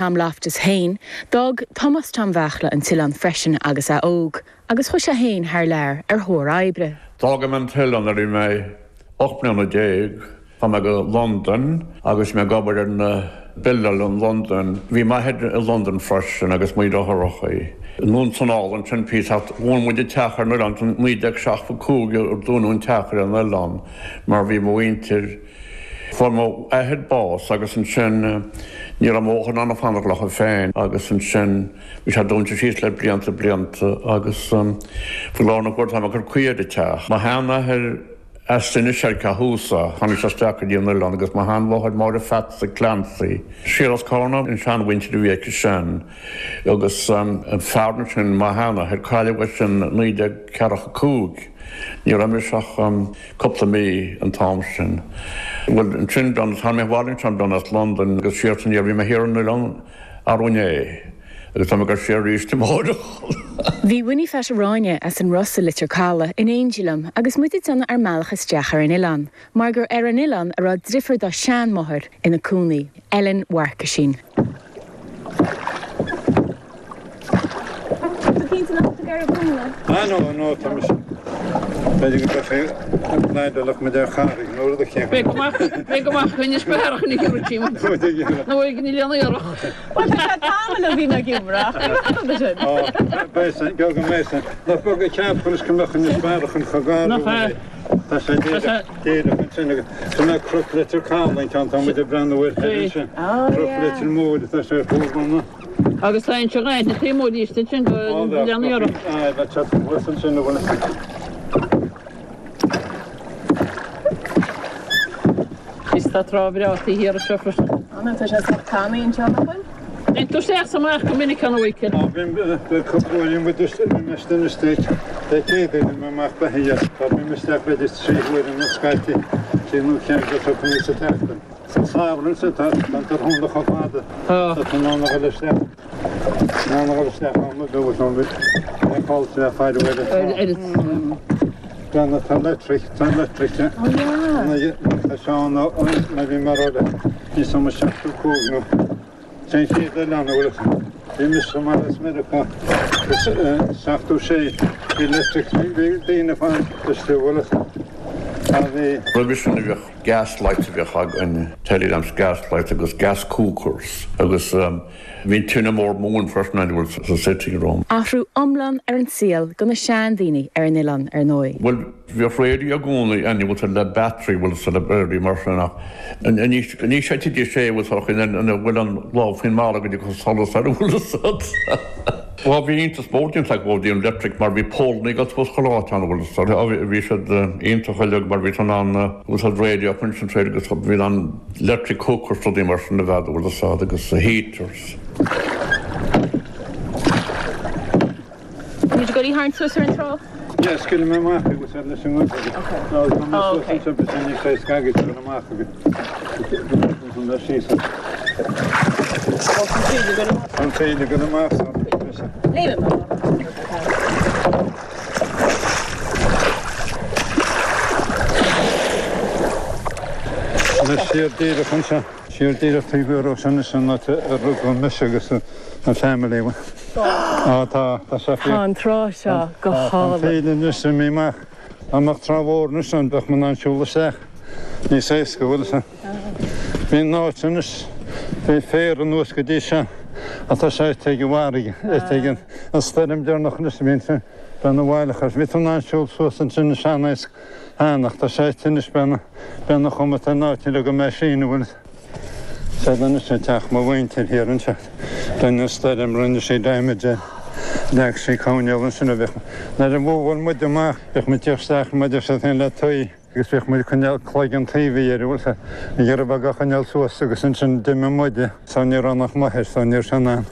Tom Loftus féin, d'fhág Tomás Tom Bheartla an t-oileán freisin agus é óg, agus chuaigh sé féin thar lear ar thóir oibre. D'fhág mé an t-oileán nuair a bhí mé 18 mbliana. Chuaigh mé go Londain agus bhí mé ag obair ar na buildeáil in Londain. Bhí m'athair i Londain freisin agus mo dheartháireacha. Anonn 's anall ansin píosa ach dhún muid an teach ar an oileán in 1975 a dúnadh an teach ar an oileán mar bhí mo mhuintir Fuair mo athair bás agus ansin ní raibh mo mháthair in ann fanacht léi féin agus ansin bhí sé dúnta síos le blianta blianta agus faoi láthair na huaire táim ag cur caoi ar an teach. Mo sheanathair as Inis Eirce ó thús é, tháinig sé isteach go dtí an oileán agus mo sheanmháthair Máire Pheatsa Clancy siar as Carna an seanmhuintir a bhí aici sin agus an fear ansin mo sheanathair cailleadh é sin 1945 ní raibh mise ach cúpla mí an t-am sin. Bhuel, ansin, tháinig mé abhaile ansin bliain as Londain agus siar 's aniar, bhí mé thiar ar an oileán arú inné agus tá mé ag dul siar arís amárach. Bhí Winnie Phat Ráinne as an Ros i Leitir Caladh in éindí liom agus muid ag déanamh ár mbealach isteach ar an oileán, mar gur ar an oileán a raibh driofúr dá seanmháthair ina cónaí, Ellen Mharcaisín. Tá cinnte nach bhfuil tú ag iarraidh bualadh. Ah no, no, tá mise. B'fhéidir go mbeifí leaidealach muid ar charraig nó rud eicínt. Beidh go maith, beidh go maith chuin is bearach ina thiúrtí muid. Nó ag an Oileán Iarthach. Bhuel, tá sé tamall ó bhí mé ag iomrach. Ní raibh fada sin. Ó, beidh san, beag an mbeidh san. Nach beag a cheapfar is go mbeadh an is bearach an chogar. Nach ea? Tá sé díreach, díreach ansin agus sin é Cnoc Leitir Caladh an ceann tá muid ag breathnú air thoir ansin. Cnoc Leitir Móir atá sé ar chúl an. Agus tá Inse Ghainimh taobh amuigh arís ansin go Oileán Iarthach. Á, bheadh sé thuas ansin a bhfuil. Is tá trá bhreá taobh thiar anseo freisin. Á, tá sé sách tanaí anseo, nach bhfuil? Bíonn tú isteach 's amach go minic ann a Mhichíl. Á, bím, le cúpla uair bhí muid istigh, bhí mé istigh istigh, le céad uair bhí mé amach beithígh, tá, bím isteach b'fhéidir trí huaire nó scaití, trí nó ceathair go tugtha sa tseachtain. Sa samhradh sa tá an tráthnóna chomh fada Tá. tá tú in ann a dhul isteach in ann a dhul isteach am ar bith agus an fáilte le faire ar an Ar an Gan tá leictric tá leictric Oh yeah. Tá Seán ó má bhí mar eile níos mó 75 nó Sé an chéad oileán a bhfuil bhí mise amach as Meiriceá is 76 bhí leictric bhí daoine fan istigh bhfuil a bhí Roimhe sin bhíodh gas lights a bhíodh againn, teddy lamps, gas lights agus gas cookers agus bhí tine mór múin freisin ann sa sitting room. Athrú iomlán ar an saol do na seandaoine ar an oileán, ar ndóigh. Bhuel, Bhíodh radio i gcónaí ann bhfuil le battery bhfuil sa le battery mar sin ach ní sheinnfidís é bhfuil ach ina bhfuil an lámh faoin mballa go dtiocfadh solas air bhfuil fhios agat. Bhuel bhí iontas mór déanta acu ó bhí an electric mar bhí polannaí ag dul suas chuile áit ann bhfuil fhios agat. Bhí siad iontach uilig mar bhí siad in ann bhfuil fhios agat radio a choinneáil tríd agus bhí in ann electric cookers rudaí mar sin a bheith bhfuil fhios agat agus heaters. Níl tú ag dul a tharraingt suas ar an trá? Yeah, scaoilfidh mé amach agus ar leis an ngoid agus nó tá mé suas anseo but sin ní sé scagadh dul amach agus an le síos. An féidir go amach so. Anois siar díreach anseo, siar díreach taobh thiar ó sin is an áit a rugadh mise agus an family. Á tá, tá sé Tá an trá seo go Tá an hálainn. taoille anois imithe amach. Dá mbeadh trá mhór anois ann bheadh mé in ann siúl isteach níos éasca, bhfuil fhios a'd. Bhí an áit anois, bhí féar anuas go dtí seo ach tá sé ite ag an bhfarraige, ite ag an stoirm deireanach anois a bhí ansin, bean an bhaile, bhí tú in ann siúl suas ansin an sean-éasc cheana ach tá sé ite anois, bean, bean an chuma atá an áit le go mbeidh síneadh, bhfuil fhios. Seo anois é teach mo mhuintir thiar anseo. Rinne an stoirm, rinne sí damage air. Leag sí coirnéal ansin a bheadh. Nuair a mhúbháil muid amach, bheadh muid ag tíocht isteach, muid ar siad féin le tuí agus bheadh muid ag coinneáil cloigeann taobh air, bhfuil sé, an ghiorra beag á choinneáil suas agus ansin d'imigh muid. So ní raibh nach maith air, so ní raibh sé in ann.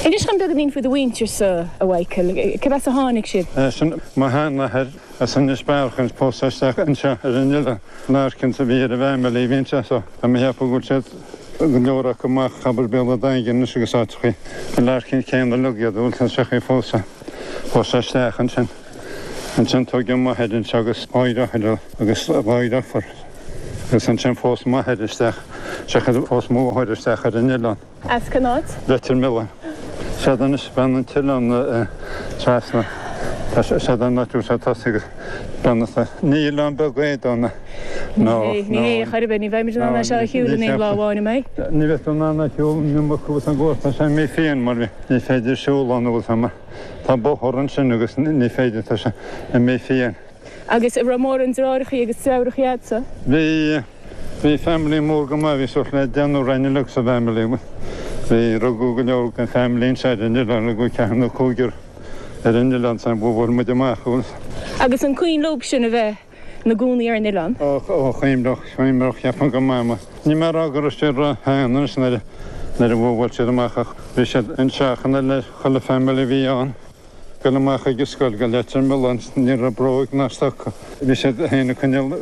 Inis dom beagáinín faoi do mhuintir-sa, a Mhichael. Cé as a tháinig siad? Sin mo sheanathair. As Inis Bearach agus pósadh isteach anseo ar an oileán. Larkins a bhí ar an bhfamily a bhí anseo so tá mé ag ceapadh go bhfuil siad go leor acu amach abair Béal an Daingin anois agus áiteachaí na Larkins céanna uilig iad a bhfuil siad anseo fós pósadh isteach ansin. Ansin tógadh m'athair anseo agus dhá dheartháir agus dhá dheirfiúr. Agus ansin phós m'athair isteach, seachas phós mo mháthair isteach ar an oileán. As cén áit? Leitir Mealláin. Seod anois Beann an t-oileán trasna. Tá seod an áit seo tosaigh agus bean atá. Ní oileán beag é dó na. Ní hé, ní hé chor ar bith. Ní bheimid in ann é seo a shiúl in aon lá amháin, an mbeidh? Ní bheidh tú in ann é a shiúl, ní bheadh tú an gcóir, tá sé imithe fiáin mar ní féidir siúl ann bhfuil tá tá bóthar ansin agus ní féidir, tá sé imithe fiáin. Agus an raibh mórán deartháireachaí agus deirfiúrachaí a'dsa? Bhí, bhí family mór go maith, bhí suas le deichniúr againn uilig sa bhfamily. Bhí, rugadh go leor den family anseo ar an oileán, rugadh ceathrar nó cúigear ar an oileán san bhfuair muid amach. Agus an cuimhin leob sin a bheith 'na gcónaí ar an oileán? Ó, ó, chuimhneach, chuimhneach, cheapfainn go maith, mar níl mé ag rá go raibh siad ró-shean anois nuair a, nuair a mhúbháil siad amach ach bhí siad anseo chun le chuile family a bhí ann. Dul amach ag an scoil go Leitir Mealláin, ní raibh bróig ná stoca. Bhí siad féin ag coinneáil a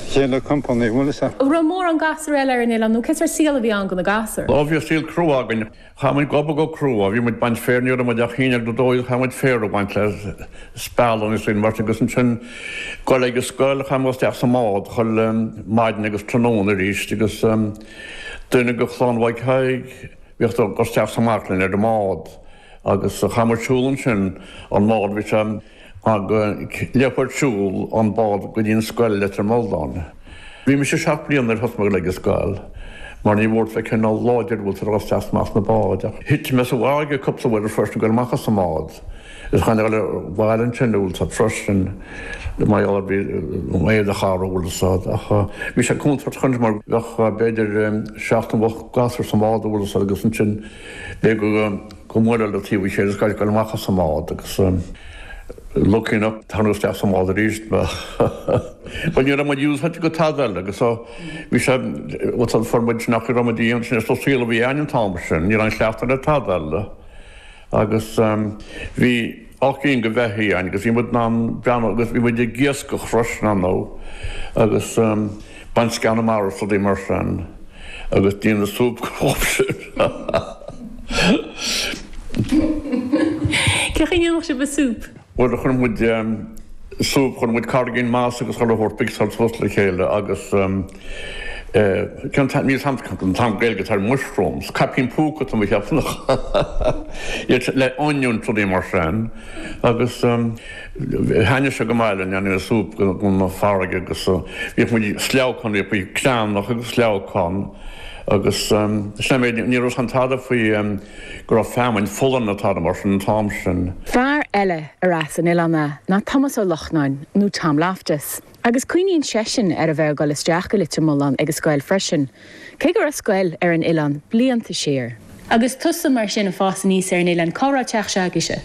chéile company, bhfuil fhios a't. An raibh mórán gasúr eile ar an oileán nó cén sórt saol a bhí ann go na gasúir? Ó bhí saol crua againn. Chaith muid ag obair go crua. Bhí muid ag baint féir, ní raibh muid ach a haon déag nó dó dhéag, chaith muid féar a bhaint le spealadh agus sin mar sin agus ansin dul ag an scoil, chaith muid isteach sa mbád chuile maidin agus tráthnóna arís agus duine de chlann Mhaidhc Thaidhg, bhíodh tú ag dul isteach sa mbarclann ar an mbád. Agus chaith muid siúl ansin, an bád, bhí sé ag leathuair siúl an bád go dtí an scoil i Leitir Mealláin. Bhí mise seacht mbliana nuair a thosaigh mé ag dul ag an scoil, mar ní bhfuair tú cineál láidir bhfuil tú ag dul isteach amach sna báid. Ach thit mé sa bhfarraige cúpla uair freisin ag dul amach as an mbád. Is chaith mé ag dul abhaile ansin bhfuil tú freisin mar gheall ar bhí éadach athrú bhfuil fhios a'd. Ach bhí sé contúirteach ansin mar bheadh b'fhéidir seacht nó ocht gasúr sa mbád bhfuil fhios a'd agus ansin B'fhéidir go mbuailfeá le taobh a chéile is caithfidh dul amach as an mbád agus lucky enough tarraingt isteach sa mbád arís. Bhuel ní raibh muid úsáidte go tada eile agus bhí sé bhuel fuair muid nach raibh muid a dhéanamh sin is an saol a bhí ann an t-am sin ní raibh aon chleachtadh le tada eile agus bhí ocht gcinn de bheithígh againn agus bhí muid in ann breathnú agus bhí muid ag iascach freisin ar ndóigh agus baint sceana mara is rudaí mar sin agus déanamh súp dhóibh sin. Cén chaoi a ndéanfadh sibh an súp? Bhuel chuir muid súp, chuir muid carraigín mais agus chuile shórt mixáilte suas le chéile agus cén t-ainm, níl 's a'm an t-ainm Gaeilge atá ar mushrooms, caipín púca atá mo cheapadh iad le onion rudaí mar sin agus thaitnigh sé go maith linn an súp gon farraige agus bhíodh muid sleabhcán, bhíodh muid creamhnach agus sleabhcán agus sin an méid, ní raibh san tada faoi go raibh feamainn folláin ná tada mar sin an t-am sin. Fear eile ar as an oileán é ná Tomás Ó Lochnáin, nó Tom Loftus. Agus cuimhníonn seisean ar a bheith ag dul isteach go Leitir Mealláin ag an scoil freisin, cé go raibh scoil ar an oileán blianta siar. Agus tusa mar sin ag fás aníos ar an oileán, cá raibh teach se'agaibhse?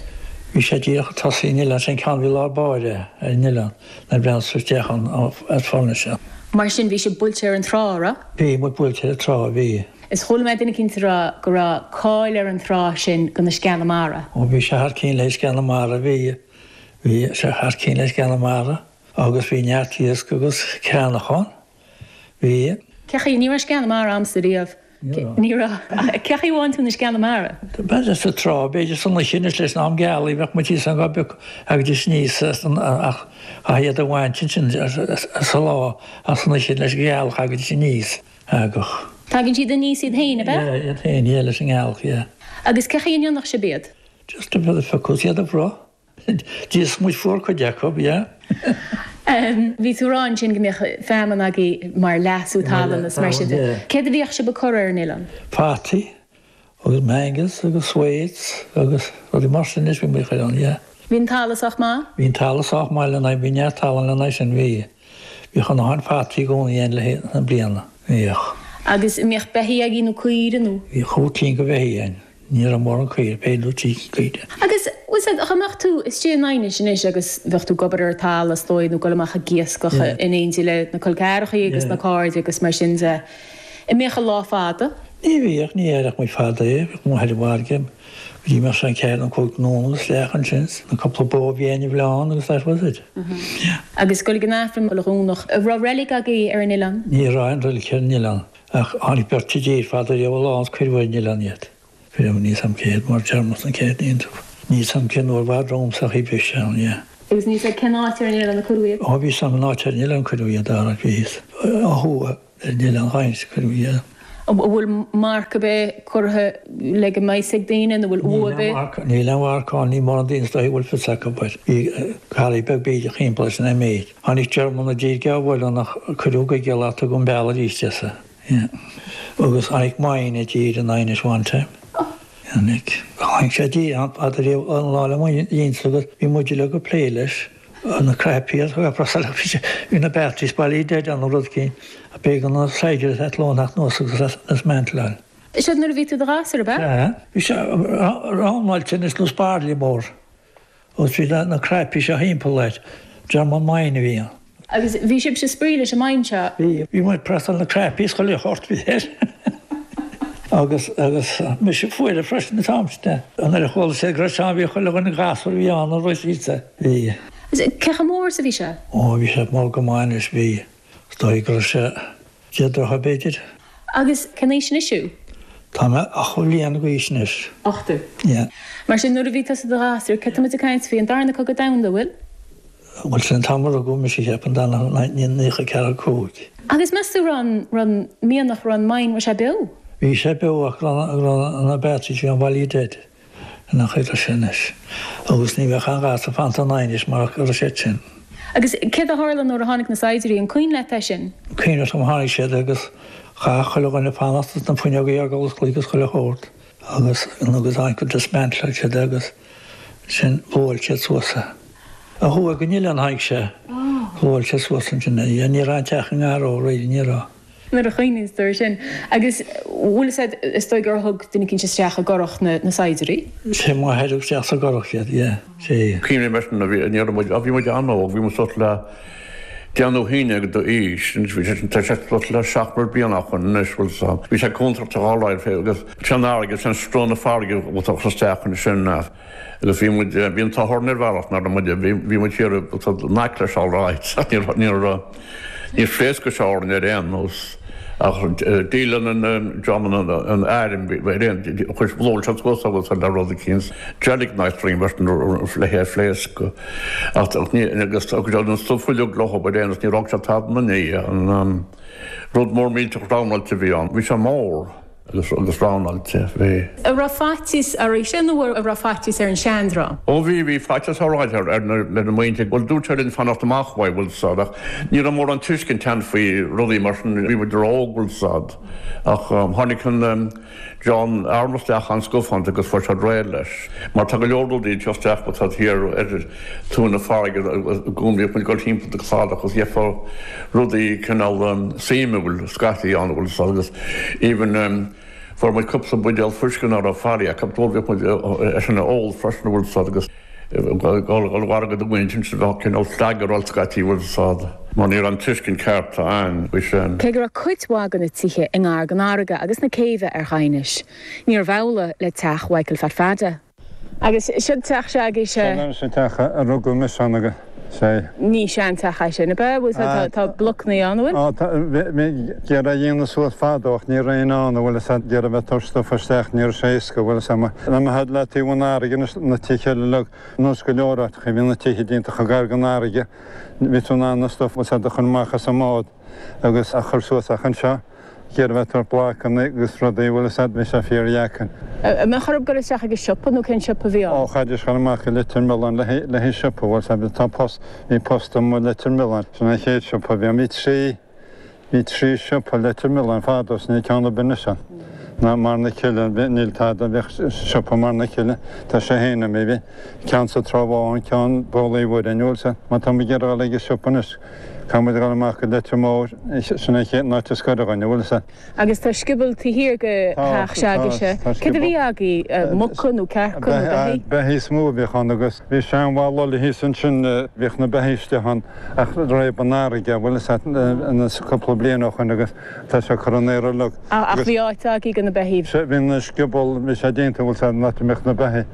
Bhí sé díreach ag tosaí an oileán, sin ceann a bhí lár báire ar an oileán, nuair a bhreathnaíos tú isteach ann as Furnace. Mar sin bhí sibh buailte ar an trá, raibh? Bhí muid buailte ar an trá, bhí. Is chuala mé duine eicínt ag rá go raibh cáil ar an trá sin go na sceana mara. Ó bhí sé thar cionn le sceana mara, bhí, bhí sé thar cionn le sceana mara. Agus bhí neart iasc agus creathnach ann. Bhí. Cé chaoi, ní raibh sceana mara a'msa riamh. Ní raibh. Ní raibh. Cé chaoi a bhfaigheann tú na sceana mara? B'fhéidir sa trá, b'fhéidir san oíche anois leis an am gealaí bheadh muid thíos ann go beag agus aníos ach chaithfí iad a bhaint ansin sa lá ach san oíche leis an ghealach agus aníos agus. Tagann siad aníos iad féin, ab ea? Yeah, iad féin, yeah, leis an ngealach, yeah. Agus cé chaoi a ndéanfadh sibh iad? Just a bheith ag phiocadh iad a bhruith. D'iasc muid fuar cuid acu, yeah. Bhí tú ag rá ansin go mbíodh feamainn agaibh mar leasú talún is mar sin de. Céard a bhíodh sibh ag cur ar an oileán? Fataí agus mangels agus swedes agus rudaí mar sin leis bhí muid ag cur ann, yeah. Bhí an talamh sách maith? Bhí an talamh sách maith lena aghaidh, bhí neart talún lena aghaidh sin, bhí. Bhíodh a ndóthain fataí i gcónaí ann le haghaidh na bliana, bhíodh. Agus an mbíodh beithígh agaibh nó caoire nó? Bhí chúig cinn de bheithígh againn. Ní raibh mórán caoire, b'fhéidir nó trí cinn caoire. Agus, bhfuil 's a'd, dá mbeadh tú istigh in Aighnis anois agus bheadh tú ag obair ar an talamh is dóigh nó ag dul amach ag iascach in éindí le na col ceathrachaí agus na cairde agus mar sin de, an mbíodh an lá fada? Ní bhíodh, ní éireodh muid fada é, bhíodh m'athair i bhfarraige go dtí mbeadh sé an ceathair nó cúig tráthnóna agus isteach ansin, na cúpla bó a bhí againn a bhleán agus that was it. Yeah. Agus dul ag an Aifreann chuile Dhomhnach, an raibh reilig agaibh ar an oileán? Ní raibh aon reilig ar an oileán. Ach tháinig beirt i dtír fada riamh lá agus cuireadh ar an oileán iad. Cuireadh níl 's a'm cé hiad mar Dermot nó cé hiad. Níl 's a'm cén uair i bhfad romhamsa ach bhí sé ann, yeah. Agus níl 's a'd cén áit ar an oileán a cuireadh iad? Ó bhí 's a'm an áit ar an oileán a cuireadh iad, alright bhí 's. Ó thuaidh. Ar an Oileán Ghainis a cuireadh í. An bhfuil marc ar bith curtha le go mbeidh 'fhios ag daoine nó bhfuil uaigh ar bith? Níl aon mharc ann, níl mórán daoine is dóichí a bhfuil fios acu air. Bhí garraí beag bídeach thimpeall leis an méid. Tháinig German i dtír dhá bhuille ach cuireadh go gile tugadh an bealach arís é sa. Agus tháinig mine i dtír in Irish one time. Tháinig. Tháinig sé i dtír ann fada riamh an lá le muid agus bhí muid uilig ag plé leis. Na cnaipí bhí na batteries bailí dead ann nó rud éicint. B'éigean na saighdiúirí eitleán a theacht anuas agus dismantleáil. Sin nuair a bhí tú i do ghasúr, ab ea? Sea. Bhí sé roundnáilte anois nós bairille mór. Agus bhí na cnaipí seo thimpeall air. German mine a bhí ann. Agus bhí sibhse ag spraoi leis an mine seo? Bhí. Bhí muid ag preasáil na cnaipí is chuile shórt a bhí air. Agus, agus mise fuaire freisin an t-am sin é. Nuair a chuala siad go raibh sé ann bhí chuile dhuine gasúr a bhí ann a rith síos é. Bhí. Cé chomh mór is a bhí sé? Ó bhí sé mór go maith anois, bhí. Is dóigh go raibh sé 10 dtroithe b'fhéidir. Agus cén aois anois thú? Tá mé 80 bliain d'aois anois. 80? Yeah. Mar sin nuair a bhí tusa i do ghasúr, céard tá muid ag caint faoi, an darna cogadh domhanda, bhfuil? Bhuel sin an t-am a rugadh mise cheapfainn an 1945. Agus meas tú raibh an, raibh an mianach, raibh an mine, raibh sé beo? Bhí sé beo ach raibh, raibh na batteries, bhí an bhailí dead ina chuid de sin anois. Agus ní bheadh aon ghasúr fanta in Aughinish murach go raibh siad sin. Agus céard a tharla nuair a tháinig na saighdiúirí, an cuimhin leat é sin? Cuimhin liom tháinig siad agus chaith chuile dhuine fanacht agus na fuinneogaí ag oscailt agus chuile shórt agus agus tháinig go dismantleáil siad agus Ansin bhuail siad suas é. Ó thuaidh den oileán tháinig sé. Bhuail sé suas ansin é. Ní raibh aon teach i ngar dó really, ní raibh. Nuair a chuimhníonns tú air sin. Agus bhfuil fhios a'd, is dóigh gur thug duine eicínt isteach i gcurach na na saighdiúirí? Sé m'athair a thug isteach sa gcurach iad, yeah. Sé. Cuimhním air sin, bhí, ní raibh muid, bhí muid an-óg, bhí muid suas le deich nó 11 d'aois, anois bhí sé, tá sé suas le 70 bliain ó shoin anois, bhfuil 'fhios a'd. Bhí sé contúirteach alright agus Sé an fharraige, sé an sruth na farraige a chur isteach ansin agus bhí muid, bhí an t-ádh orainn ar bhealach nach raibh muid, bhí muid thiar in aice leis alright níor, níor phléasc sé orainn ar aon nós ach dialann an dream an airm ar aon, chuir, bhuail sé suas agus le rud eicínt, gelignite le hé a phléascadh ach ní, agus an stuif uilig leo ar aon nós níor fhág sé tada ina ndiaidh, an rud mór millteach roundnáilte a bhí ann, bhí sé mór. Agus agus roundnáilte, bhí. An raibh faitíos oraibhse nó an raibh faitíos ar an seandream? Ó bhí, bhí faitíos alright ar ar na ar na muintir. Bhuel dúirt sé linn fanacht amach uaidh, bhfuil 'fhios a'd, ach ní raibh mórán tuiscint a'inn faoi rudaí mar sin, bhí muid ró-óg, bhfuil 'fhios a'd. Ach tháinig an dream arm isteach an-scafánta agus fuair siad réidh leis. Mar tá go leor rudaí ag teacht isteach bhfuil 'fhios a'd thiar ar tóin na farraige i gcónaí bhíodh muid ag dul timpeall do cladach agus gheofá rudaí cineál suimiúil scaití ann, bhfuil 'fhios a'd, agus even fuair muid cúpla buidéal fuisce nach raibh fairí acu, dó bhíodh muid é sin a ól freisin, bhfuil 'fhios a'd, agus dul dul mhargadh do mhuintir sin bheadh cineál slagger scaití, bhfuil 'fhios a'd, mar ní raibh an tuiscint ceart a'ainn faoi sin. Cé go raibh cuid mhaith de na tithe i ngar don fharraige agus na céibhe ar Ghaibhnis, níorbh amhlaidh le teach Mhichael Phat Pheaida. Agus seo teach s'agaibhse. Sin anois an teach a rugadh mise ann agus sé. Ní seanteach é sin, ab ea? Bhfuil tá tá blocannaí ann, an bhfuil? Á tá, bhí bhí ag iarraidh a dhéanamh suas fadó ach ní raibh éinne ann, an bhfuil fhios a'd, ag iarraidh bheith ag tabhairt stuif isteach, ní raibh sé éasca, an bhfuil fhios a'd, mar le mo thoil le taobh an fharraige anois na tithe eile uilig, nós go leor áiteacha bhí na tithe déanta chomh gar don fharraige, bhí tú in ann na stuif, bhfuil fhios a'd, a chur amach as an mbád agus a chur suas ach anseo, Ag iarraidh bheith ag tabhairt blocanna agus rudaí, bhfuil fhios a'd, bhí sé fíor dheacair. An mbeadh orthu dul isteach ag an siopa nó cén siopa a bhí ann? Ó, chaithfidís dhul amach go Leitir Mealláin le haghaidh siopa, bhfuil fhios a'd, tá post, bhí post amuigh i Leitir Mealláin, sin an chéad siopa a bhí ann. Bhí trí, bhí trí siopa i Leitir Mealláin fadó is níl ceann ar bith anois ann. Ná Mar na Cille, níl tada, bhíodh siopa Mar na Cille, tá sé féin imithe, bhí ceann sa Trá Bháin, ceann Poll Uí Mhuireáin, bhfuil fhios a'd, má tá muid ag iarraidh dhul ag an siopa anois, Caithfidh muid a dhul amach go Leitir Móir, sin an chéad áit is gaire dhuinn, an bhfuil fhios a'd. Agus tá scioból taobh thiar de theach s'agaibhse. Céard a bhí agaibh, muca nó cearca nó beithígh? Beithígh is mó a bhíodh ann agus bhí seanbhalla eile thíos ansin, bhíodh na beithígh istigh ann ach réab an fharraige, an bhfuil fhios a'd, cúpla bliain ó shoin agus tá sé curtha in aer uilig. Ach bhí áit agaibh do na beithígh? Sea, bhí an scioból, bhí sé déanta, an bhfuil fhios a'd, an áit a mbeadh na beithígh.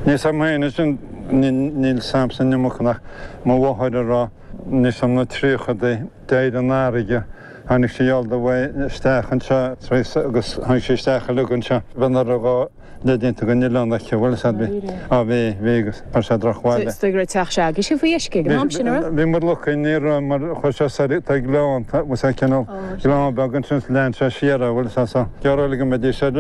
Níl fhios a'm féin ansin, níl fhios a'msa an iomarca ach mo mháthair a rá. Anois sna tríochadaí, d'éirigh an fharraige. Tháinig sí all the way isteach anseo tar agus tháinig sí isteach uilig anseo. Bhí an oiread dhá leith déanta den oileán aici, bhfuil fhios a'd, bhí, á bhí, bhí agus chuir sé drochbhail. Is dóigh go raibh teach s'agaibhse faoi uisce ag an am sin, an raibh? Bhí muid lucky, ní raibh mar chuaigh sé soir, tá gleann, tá, bhfuil fhios a'd, cineál gleann beag ansin is lean sé siar é, bhfuil fhios a'd, so gearr uilig go mbeidís ar.